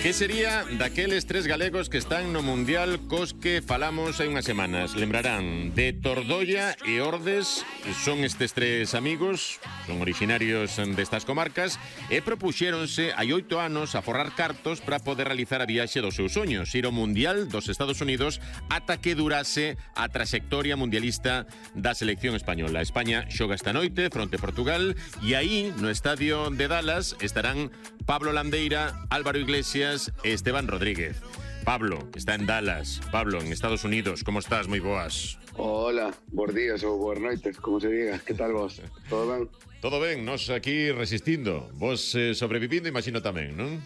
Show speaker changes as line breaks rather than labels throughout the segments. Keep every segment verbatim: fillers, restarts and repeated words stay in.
Que sería daqueles tres galegos que están no Mundial cos que falamos hai unhas semanas? Lembrarán de Tordolla e Ordes. Son estes tres amigos, son orixinarios destas comarcas e propuxéronse hai oito anos a forrar cartos para poder realizar a viaxe dos seus soños, ir ao Mundial dos Estados Unidos ata que durase a traxectoria mundialista da selección española. España xoga esta noite fronte a Portugal e aí, no estadio de Dallas, estarán Pablo Landeira, Álvaro Iglesias e Esteban Rodríguez. Pablo, está en Dallas. Pablo, en Estados Unidos, como estás? Moi boas.
Hola, bons días ou boas noites, como se diga. Que tal vos? Todo ben?
Todo ben, nos aquí resistindo. Vos eh, sobrevivindo, imagino tamén, non?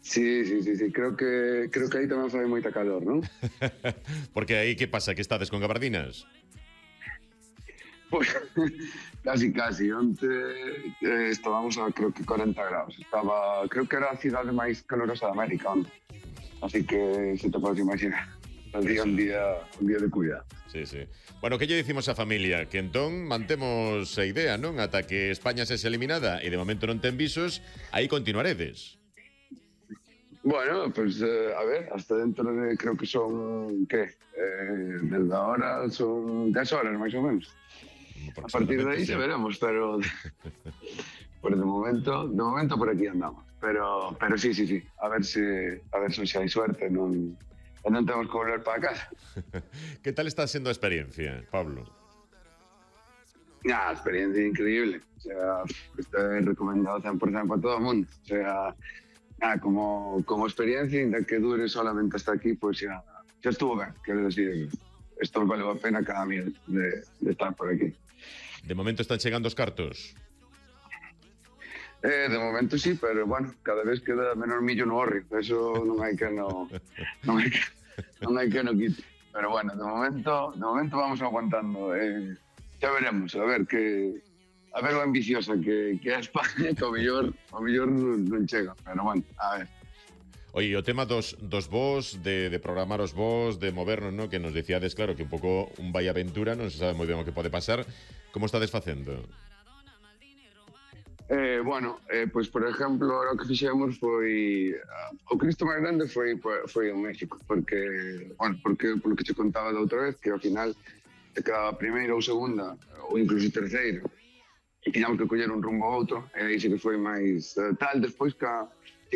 Sí, sí, sí, sí. Creo que creo que aí tamén fai moita calor, non?
Porque aí que pasa, que estades con gabardinas?
Pois, casi, casi. Onte eh, estábamos a, creo que, cuarenta graus. Estaba, creo que era a cidade máis calorosa de América, onte. Así que se te podes imaginar. El día, un día, un día de cuidado.
Sí, sí. Bueno, que lle dicimos á familia? Que entón mantemos a idea, non? Ata que España se eliminada e de momento non ten visos, aí continuaredes.
Bueno, pues eh, a ver, hasta dentro de, creo que son, ¿qué? Eh, desde ahora son dez horas, máis ou menos. A partir de aí sí. Se veremos, pero por de momento, de momento por aquí andamos. Pero, pero sí, sí, sí. A ver se, a ver se hai suerte, non, non temos que volver para casa.
Que tal está sendo a experiencia, Pablo?
Ah, experiencia increíble. O sea, está recomendado cien por ciento para todo o mundo. O sea, ah, como, como experiencia, ainda que dure solamente hasta aquí, pues ya, ya estuvo ben. Quero decir, esto valeu a pena cada minuto de, de estar por aquí.
De momento están chegando os cartos?
Eh, de momento sí, pero bueno, cada vez queda menor millo no horri. Eso non hai que no, non hai que, non hai que no quite. Pero bueno, de momento, de momento vamos aguantando. Eh, ya veremos, a ver que a ver lo ambiciosa que, que é España, que o mellor, o mellor non chega. Pero bueno, a ver.
Oye, o tema dos, dos vos, de, de programar os vos, de movernos, ¿no? Que nos decíades, claro, que un pouco un vai aventura, non se sabe moi ben o que pode pasar. Como estades facendo?
Eh, bueno, eh, pois, por exemplo, o que fixemos foi... Uh, o Cristo máis grande foi, foi en México, porque, bueno, porque, polo que te contaba da outra vez, que ao final te quedaba primeira ou segunda, ou incluso terceira, e tiñamos que coller un rumbo a outro, e aí sí que foi máis uh, tal. Despois que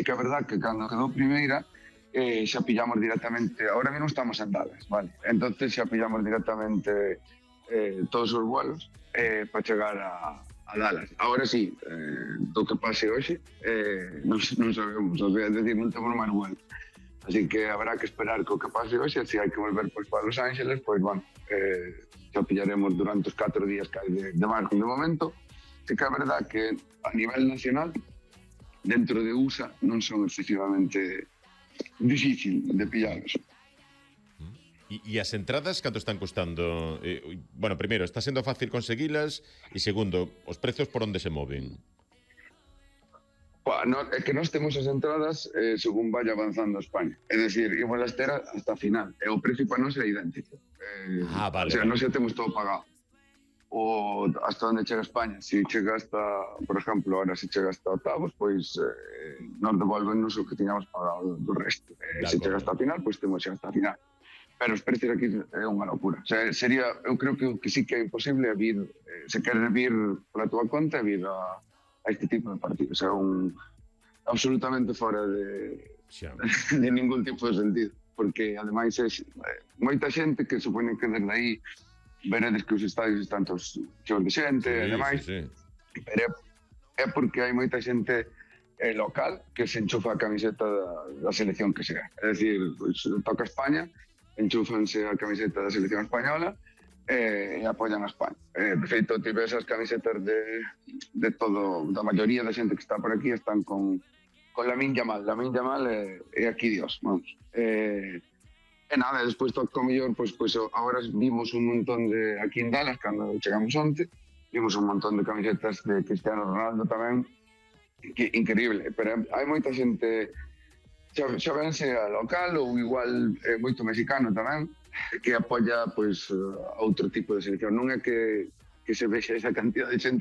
e que a verdad que cando quedou primeira eh, xa pillamos directamente, ahora mesmo estamos en Dallas, vale? Entonces xa pillamos directamente eh, todos os vuelos eh, para chegar a, a Dallas. Ahora sí, eh, do que pase hoxe eh, non, non sabemos, o sea, é decir, non temos máis vuelo. Así que habrá que esperar que o que pase hoxe, se hai que volver pois, para Los Ángeles, pois, bueno, eh, xa pillaremos durante os catro días que hai de, de marco. De momento, sí que é verdad que a nivel nacional, dentro de U S A non son excesivamente difícil de pillarlos.
E, e as entradas canto están costando? Eh, bueno, primeiro, está sendo fácil conseguilas e segundo, os prezos por onde se moven?
Pa, no, é que nós temos as entradas eh, según vaya avanzando España. É dicir, igual a estera hasta a final. E o precio para nós é idéntico. Eh,
ah, vale.
O sea,
vale.
nós xa temos todo pagado. O hasta onde chega España. Se chega hasta, por exemplo, ahora se chega hasta octavos, pois eh, nos devolvennos o que tiñamos pagado do resto. Eh, se chega hasta a final, pois temos xa hasta a final. Pero os precios aquí é unha locura. O sea, sería, eu creo que, que sí que é imposible vir, eh, se querer vir pola túa conta, vir a, a este tipo de partidos. O sea, un absolutamente fora de, de ningún tipo de sentido. Porque, ademais, é eh, moita xente que supone que desde aí veredes que os estadios están todos cheos de xente, sí, e demais, sí, sí. Pero é, é porque hai moita xente eh, local que se enchufa a camiseta da, da selección que sea. É dicir, pues, toca España, enchúfanse a camiseta da selección española eh, e apoian a España. Eh, de feito, tive esas camisetas de, de todo, da maioría da xente que está por aquí están con, con Lamine Yamal. Lamine Yamal é, é aquí Dios, vamos. Eh, E nada, despois toca o mellor, pois, pois agora vimos un montón de, aquí en Dallas, cando chegamos onte, vimos un montón de camisetas de Cristiano Ronaldo tamén, que increíble, pero hai moita xente, xa, xa vense a local ou igual eh, moito mexicano tamén, que apoia pois, a outro tipo de selección. Non é que, que se vexe esa cantidad de xente